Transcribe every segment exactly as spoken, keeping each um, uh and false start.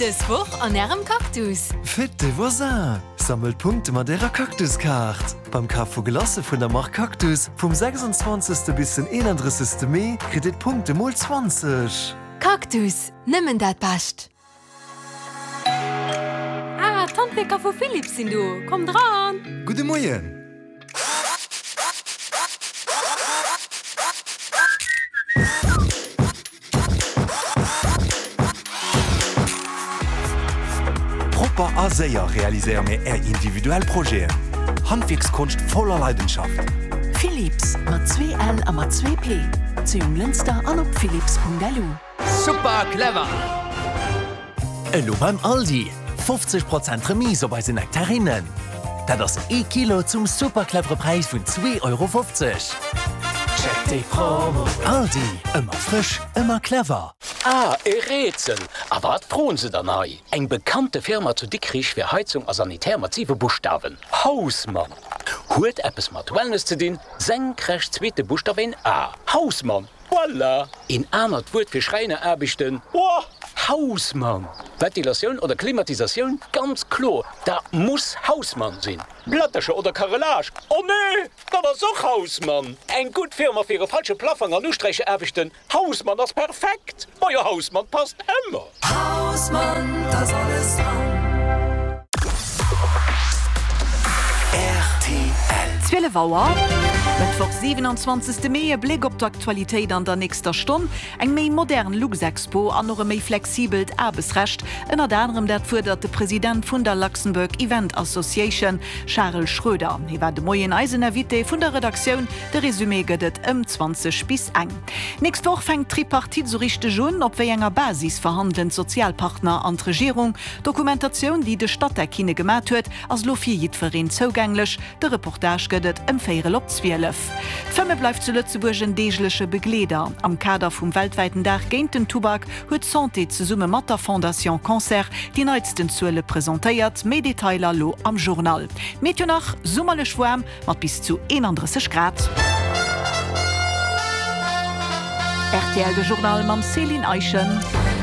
Dës Woch an Ärem Cactus! Fête des voisins! Sammelt Punkte mat Ärer Cactus-Kaart! Beim Kaf vu Glacë vun der Mark Cactus vum sechsundzwanzegste bis den eenandrëssegste Mee kritt Dir d'Punkte mol zwanzeg! Cactus, nëmmen dat Bescht! Ah, d'Handwierker vu Philips sinn do! Kommt eran! Gudde Moien! Propper a séier realiséiere mir Är individuell Projeten. Handwierkskonscht voller Leidenschaft. Philips, mat zwee L a mat zwee P, zu Jonglënster an op philips.lu. Super clever! Elo beim Aldi, fofzeg Prozent Remise op eise Nektarinnen. Dat ass ee Kilo zum super clevere Präis vun zwee Euro fofzeg. Check déi Promo! Aldi, ëmmer frësch, ëmmer clever. Ah, e Rätsel! A wat froen se dann hei? Eng bekannte Firma zu Dikrich fir Heizung a Sanitär mat siwe Buschtawen, Hausmann! Huet eppes mat Wellness ze dinn, senkrecht zweete Buschtaf een A, Hausmann! Voilà! Een anert Wuert fir Schräineraarbechten, Boah! Hausmann! Ventilatioun oder Klimatisatioun, ganz kloer, dat muss Hausmann sinn! Plättercher oder Carrelage, oh nee, dat ass och Hausmann! Eng gutt Firma fir e falsche Plaffong an Usträicheraarbechten, Hausmann ass perfekt! Majo, Hausmann passt ëmmer! Hausmann, da ass alles dran! Zwielef Auer, Mëttwoch siwenanzwanzegste Mee, E Bléck op d'Aktualitéit an der nächster Stonn, Eng méi modern Luxexpo an och e méi flexibelt Aarbechtsrecht, ënnert anerem dat fuerdert de President vun der Luxembourg Event Association, Charel Schroeder. Hie war de Moien eisen Invité vun der Redaktioun. De Resumé gëtt et ëm zwanzeg bis eng. D'nächst Woch fänkt d'Tripartite sou richteg un. Op wéi enger Basis verhandelen d'Sozialpartner an d'Regierung? D'Dokumentatioun, déi de Statec hinne gemat huet, ass elo fir jiddwereen zougänglech. De Reportage gëtt et ëm véierel op zwielef. D'Fëmme bleift zu Lëtzebuerg en deegleche Begleeder. Am Kader vum weltwäiten Dag géint den Tubak huet d'Santé zesumme mat der Fondation Cancer déi neitsten Zuele presentéiert. Méi Detailer lo am Journal. Meteo nach, Summerlech waarm mat bis zu eenandrësseg Grad. Rtl De Journal mam Céline Eischen.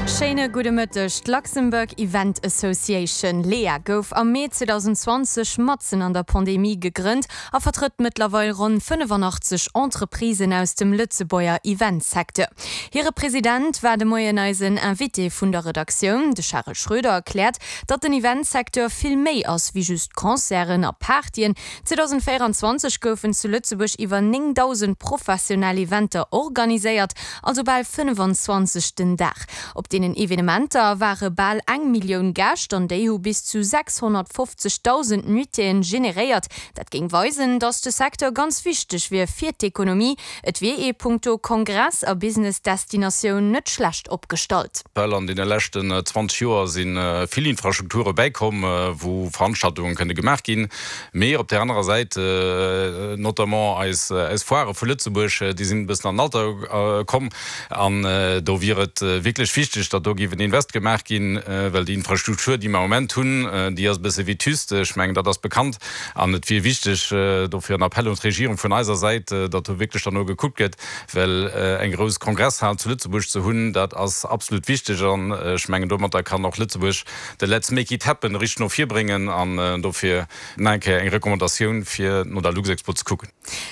Schéine gudde Mëtteg. D'Luxembourg Event Association, LEA, gouf am Mee zweedausendenzwanzeg matzen an der Pandemie gegrënnt a vertrëtt mëttlerweil ronn fënnefanachtzeg Entreprisen aus dem Lëtzebuerger Eventsecteur. Hire President war de Moien eisen Invité vun der Redaktioun. De Charel Schroeder erkläert, datt den Eventsecteur vill méi ass wéi just Concerten a Partyen. zweedausendvéieranzwanzeg goufen zu Lëtzebuerg iwwer néngdausend professionell Eventer organiséiert, also bal fënnefan-zwanzeg den Dag. Op deenen Evenementer ware bal eng Millioun Gäscht an déi hu bis zu sechshonnertfofzegdausend Nuitéeën generéiert. Dat géing weisen, datt de Secteur ganz wichteg wier fir d'Ekonomie. Et wier ee punkto Kongress a Business-Destinatioun net schlecht opgestallt. Well an deene leschten zwanzeg Joer si vill Infrastrukture bäikomm, wou Veranstaltunge kënne gemaach ginn. Mee op där anerer Säit, notamment eis Foirë vu Lëtzebuerg, déi sinn e bëssen an den Alter komm. An do wier et wierklech wichteg, datt do géif en Invest gemaach ginn, well déi Infrastruktur, déi mer am Moment hunn, déi ass e bësse vétuste. Ech mengen, dat ass bekannt. An et wier wichteg, dofir en Appel un d'Regierung vun eiser Säit, datt do wierklech dann no gekuckt gëtt, well eng grouss Kongresshal zu Lëtzebuerg ze hunn, dat ass absolut wichteg. An ech mengen, domatter kann och Lëtzebuerg de Let's make it happen richteg no vir bréngen. An dofir nach eng Kéier eng Recommandatioun, fir no der Luxexpo ze kucken.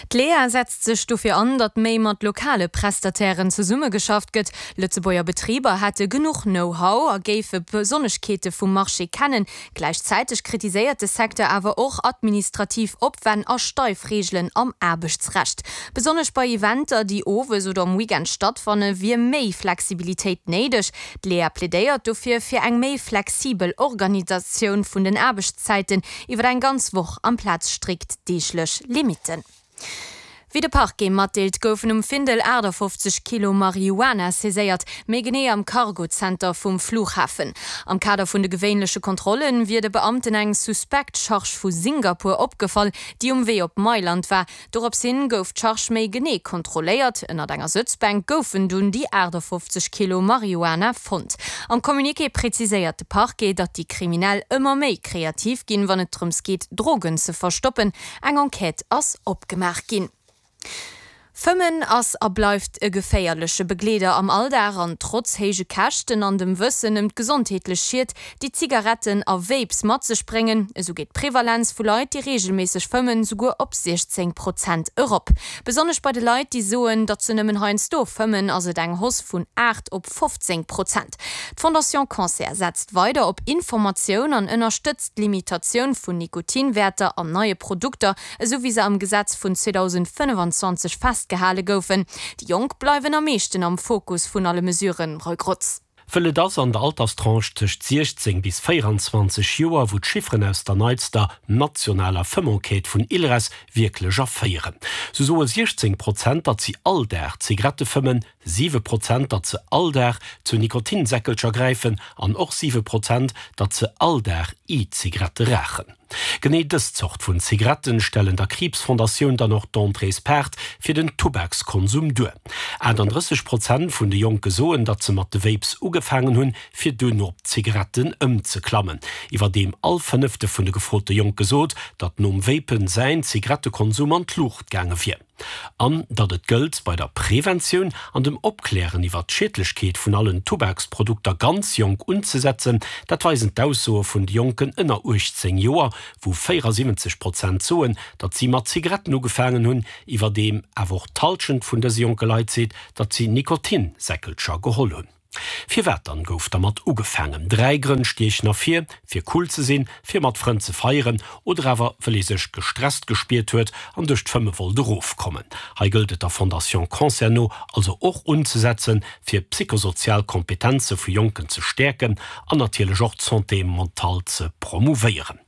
D'LEA setzt sech dofir an, datt méi mat lokale Prestatairen zesummegeschafft gëtt. Lëtzebuerger Betriber hätte genuch Know-how a géife d'Besonneschkeete vum Marché kennen. Gläichzäiteg kritiséiert de Secteur awer och administrativ Opwänn a steif Reegelen am Aarbechtsrecht. Besonnesch bei Eventer, déi owes oder um Weekend stattfanne, wier méi Flexibilitéit néideg. D'LEA plädéiert dofir fir eng méi flexibel Organisatioun vun den Aarbechtszäiten iwwer eng ganz Woch amplaz strikt deeglech Limitten. Wéi de Parquet matdeelt, goufen um Findel achtafofzeg Kilo Marihuana saiséiert, méi genee am Cargo-Zenter vum Flughafen. Am Kader vun de gewéinleche Kontrolle wier de Beamten eng suspekt Charge vu Singapur opgefall, déi um Wee op Mailand war. Dorops hin gouf d'Charge méi genee kontrolléiert. Ënnert enger Sëtzbänk goufen dunn déi achtafofzeg Kilo Marihuana fonnt. Am Communiqué preziséiert de Parquet, datt déi Kriminell ëmmer méi kreativ ginn, wann et drëms geet, Drogen ze verstoppen. Eng Enquête ass opgemaach ginn. Fëmmen ass a bleift e geféierleche Begleeder am Alldag an trotz héije Käschten an dem Wëssen ëm d'gesondheetlech Schied, déi Zigaretten a Vapes mat sech bréngen, esou geet d'Prevalenz vu Leit, déi reegelméisseg fëmmen, souguer op siechzéng Prozent erop. Besonnesch bei de Leit, déi soen, datt se nëmmen heiansdo fëmmen, ass et eng Hausse vun aacht op fofzéng Prozent. D'Fondation Cancer setzt weider op Informatioun an ënnerstëtzt d'Limitatioun vun Nikotinwäerter an neie Produkter, esou wéi se am Gesetz vun zweedausendfënnefanzwanzeg festgehale goufen. Déi Jonk bleiwen am meeschten am Fokus vun alle Mesuren, Roy Grotz. Wëll et ass an der Alterstranche tëscht siechzéng bis véieranzwanzeg Joer, wou d'Chifferen aus der neitster nationaler Fëmmenquête vun ILRES wierklech erféieren. Sou soe siechzéng Prozent, datt si all Dag Zigarette fëmmen, siwe Prozent, datt se all Dag zu Nikotinsäckelcher gräifen an och siwe Prozent, datt se all Dag E-Zigarette raachen. Genee dës Zort vun Zigaretten stellen der Kriibsfondatioun dann och d'Entréespaart fir den Tubakskonsum duer. achtandrësseg Prozent vun de Jonke soen, datt se mat de Vapes ugefaangen hunn, fir duerno op d'Zigaretten ëmzeklammen. Iwwerdeem all fënnefte vun de gefrote Jonke sot, datt nom Vapen säin Zigarettekonsum an d'Luucht gaange wier. An datt et gëllt, bei der Preventioun an dem Opklären iwwer d'Schiedlechkeet vun allen Tubaksprodukter ganz jonk unzesetzen, dat weisen d'Aussoe vun de Jonken ënner uechtzéng Joer, wou véierasiwwenzeg Prozent soen, datt si mat Zigaretten ugefaangen hunn, iwwerdeem awer och d'Hallschent vun dëse jonke Leit seet, datt si Nikotinsäckelcher geholl hunn. Firwat dann gouf dermat ugefaangen? Dräi Grënn stiechen ervir, fir cool ze sinn, fir mat Frënn ze feieren oder awer wëll ee sech gestresst gespiert huet an duerch d'Fëmme wollt erofkommen. Hei gëllt et der Fondation Cancer no also och unzesetzen, fir psychosozial Kompetenze vu Jonken ze stäerken an natierlech och d'Santé mentale ze promouvéieren.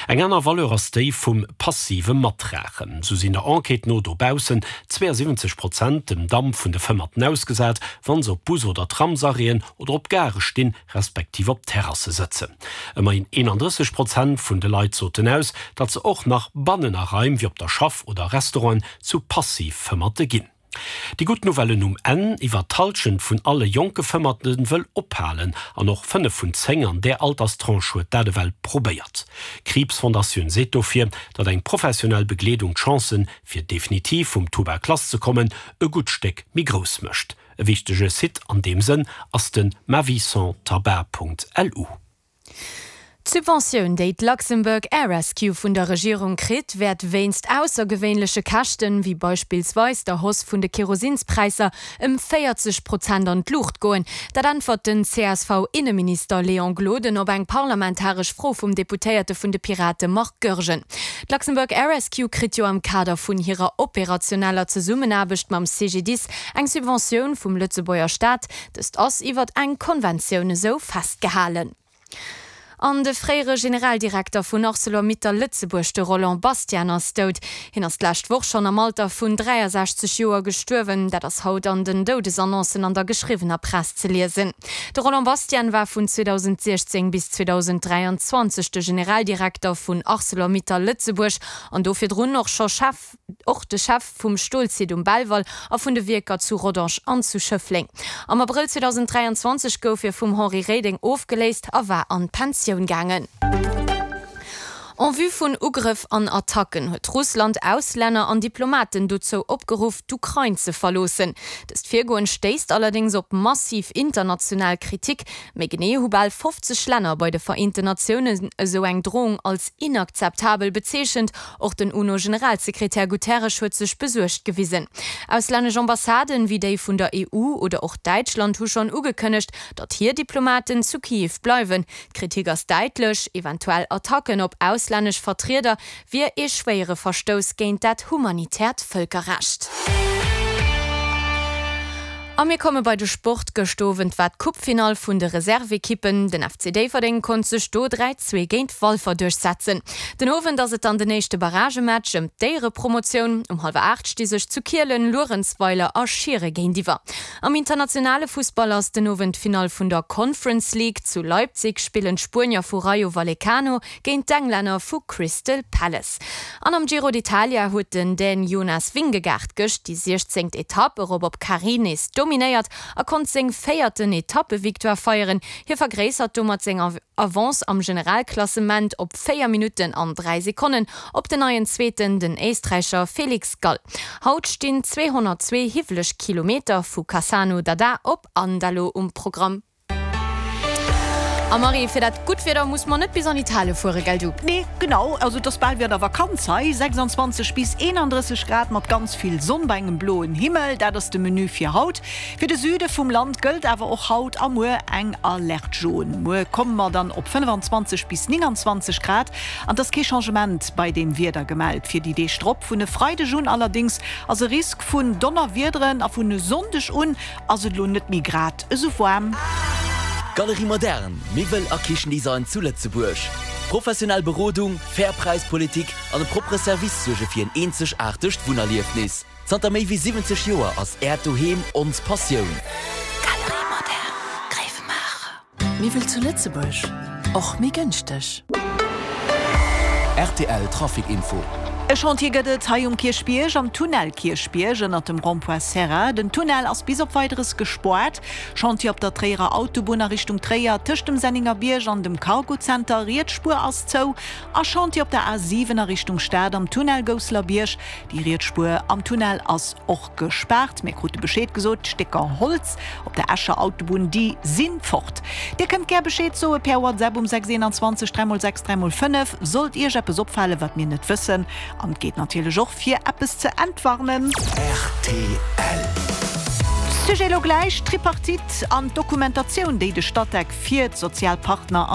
Eng aner Valeur ass déi vum passive Matraachen. Sou sinn der Enquête no dobaussen zweeënsiwwenzeg Prozent dem Damp vun de Fëmmerten ausgesat, wa se op Bus oder Tramsarrêten oder op Gare stinn, respektiv op Terrasse sëtzen. Ëmmerhin eenandrësseg Prozent vun de Leit soten aus, datt se och nach bannen a Raim wéi op der Schaff oder Restauranten zu Passiv-Fëmmerte ginn. Déi gutt Nouvellen um Enn, Iwwer d'Hallschent vun alle jonke Fëmmerte wëll ophalen an och fënnef vun zéng an där Alterstranche huet dat ewell probéiert. D'Kriibsfondatioun seet dofir, datt eng professionell Begleedung d'Chancen, fir definitiv vum Tubak lasszekommen, e gutt Stéck méi grouss mécht. E wichtege Site an deem Sënn ass de maviessanstabac.lu. D'Subventioun, déi d'Luxembourg Air Rescue vun der Regierung kritt, wäert wéinst aussergewéinleche Käschten, wéi beispillsweis der Hausse vun de Kerosinspräisser, ëm véierzeg Prozent an d'Luucht goen. Dat äntwert den C S V-Inneminister Léon Gloden op eng parlamentaresch Fro vum Deputéierte vun de Pirate Marc Goergen. D'Luxembourg Air Rescue kritt jo am Kader vun hirer operationeller Zesummenaarbecht mam C G D I S eng Subventioun vum Lëtzebuerger Staat. Dëst ass iwwert eng Konventioun esou festgehalen. An de fréiere Generaldirekter vun Arcelor-Mittal Lëtzebuerg, de Roland Bastian, ass dout. Hien ass d'lescht Woch schonn am Alter vun dräiasechzeg Joer gestuerwen. Dat ass haut an den Doudesannoncen an der geschriwwener Press ze liesen. De Roland Bastian war vun zweedausendsiechzéng bis zweedausendräianzwanzeg de Generaldirekter vun Arcelor-Mittal Lëtzebuerg an do virdrun och scho Chef och de Chef vum Stolsite um Belval a vun de Wierker zu Rodange an zu Schëffleng. Am Abrëll zweedausendräianzwanzeg gouf hie vum Henri Reding ofgeléist a war an d'Pensioun gaangen. En vue vun Ugrëff an Attacken huet Russland Auslänner an Diplomaten dozou opgeruff, d'Ukrain ze verloossen. Dëst Virgoen stéisst allerdéngs op massiv international Kritik. Méi genee hu bal fofzeg Länner bei de Vereenten Natiounen esou eng Drohung als inakzeptabel bezeechent. Och den UNO-Generalsekretär Guterres huet sech besuergt gewisen. Auslännesch Ambassaden, wéi déi vun der E U oder och Däitschland hu schonn ugekënnegt, datt hir Diplomaten zu Kiew bleiwen. D'Kritik ass däitlech, eventuell Attacken op auslännesch Vertrieder wier ee schwéiere Verstouss géint dat humanitäert Vëlkerrecht. A mir komme bei de Sport. Gëscht Owend war d'Coupefinall vun de Reservekippen. Den F C Déifferdeng konnt sech do dräi, zwee géint Walfer duerchsetzen. Den Owend ass et dann den éischte Barragematch ëm d'Éierepromotioun. Um hallwer aacht sti sech zu Kielen Luerenzweiler a Schiere géintiwwer. Am internationale Fussball ass den Owend d'Finall vun der Conference League. Zu Leipzig spillen d'Spuenier vu Rayo Vallecano géint d'Englänner vu Crystal Palace. An am Giro d'Italia huet den Dän Jonas Vingegaard gëscht déi siechzéngt Etapp erop op Carrì nees dominéiert a konnt seng véierten Etappevictoire feieren. Hie vergréissert domat seng Avance am Generalklassement op véier Minutten an dräi Sekonnen op den neien Zweeten, den Éisträicher Felix Gall. Haut stinn zweehonnertzwee hiwweleg Kilometer vu Cassano d'Adda op Andalo um Programm. A Marie, fir dat gutt Wieder muss mer net bis an Italie fuere, gell du? Nee, genau, also et ass bal wéi an der Vakanz hei, sechsundzwanzeg bis eenandrësseg Grad mat ganz vill Sonn bei engem bloen Himmel, dat ass de Menu fir haut. Fir de Süde vum Land gëllt awer och haut a muer eng Alerte jaune. Muer komme mer dann op fënnefanzwanzeg bis nénganzwanzeg Grad an et ass kee Changement bei dem Wieder gemellt fir déi Deeg drop. Vun e Freideg un allerdéngs ass e Risk vun Donnerwiederen a vun e Sonndeg un ass et elo net méi grad esou waarm. Galerie Moderne, Miwwel a Kichendesign zu Lëtzebuerg. Professionell Berodung, fair Präispolitik an e proppere Service suerge fir en eenzegaartegt Wunnerliefnis. Zanter méi wéi siwwenzeg Joer ass Äert Doheem ons Passioun. Galerie Moderne, Gréiwemaacher. Miwwel zu Lëtzebuerg, och méi gënschteg. Rtl Trafic Info. E Chantier gëtt et hei um Kierchbierg, am Tunnel Kierchbierg ënnert dem Rond-point Serra. Den Tunnel ass bis op Weideres gespoart. Chantier op der Tréierer Autobunn a Richtung Tréier tëscht dem Senningerbierg an dem Cargozenter, riets Spuer ass zou. A Chantier op der A siwen a Richtung Stad am Tunnel Gousselerbierg, déi riets Spuer am Tunnel ass och gespaart. Mir krute Bescheed gesot, d'Stécker Holz op der Escher Autobunn, déi si fort. Dir kënnt gär Bescheed soe per WhatsApp um sechs eenanzwanzeg dräi mol sechs dräi mol fënnef, sollt Iech eppes opfalen, wat mir net wëssen. An et geet natierlech och fir eppes ze entwarnen. Rtl. Sujet elo gläich, D'Tripartite an d'Dokumentatioun, déi de Statec fir d'Sozialpartner an.